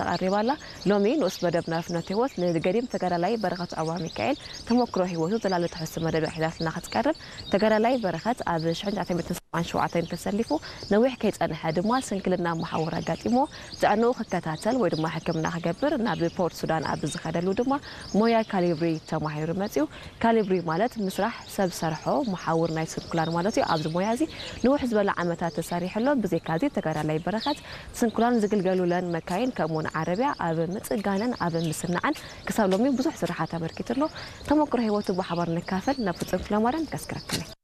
ተቐሪባ ኣላ። ሎሚ ንኡስ መደብና ፍኖት ህይወት ንገዲም ተጋዳላይ በረኸት ዑቕባሚካኤል ተመክሮ ህይወቱ ዝላለ ትሕዝቶ መደብ ሒዛትና ክትቀርብ። ተጋዳላይ በረኸት ኣብ ሽሕን ትሽዓተ ሚእትን ሰብዓን ሸውዓተን ተሰሊፉ ነዊሕ ከይጸንሐ ድማ ስንክልና መሓውር ኣጋጢሞ ጥዕንኡ ክከታተል ወይ ድማ ሕክምና ክገብር ናብ ፖርት ሱዳን ኣብ ዝኸደሉ ድማ ሞያ ካሊብሪ ተማሂሩ መጺኡ። ካሊብሪ ማለት ምስራሕ ሰብ ሰርሖ መሓውር ናይ ስንኩላን ማለት እዩ። ኣብዚ ሞያ እዚ ንውሕ ዝበለ ዓመታት ተሰሪሑ ኣሎ። ብዘይካ እዚ ተጋዳላይ በረኸት ስንኩላን ዝግልገሉለን መካይን ከምኡውን ዓረብያ ኣብ ምጽጋነን ኣብ ምስናዕን ክሳብ ሎሚ ብዙሕ ስራሓት ኣበርኪቱ ኣሎ። ተመክሮ ህይወቱ ብሓባር ንካፈል ናብ ፍጹም ክፍለማርያም ከስክረክለይ።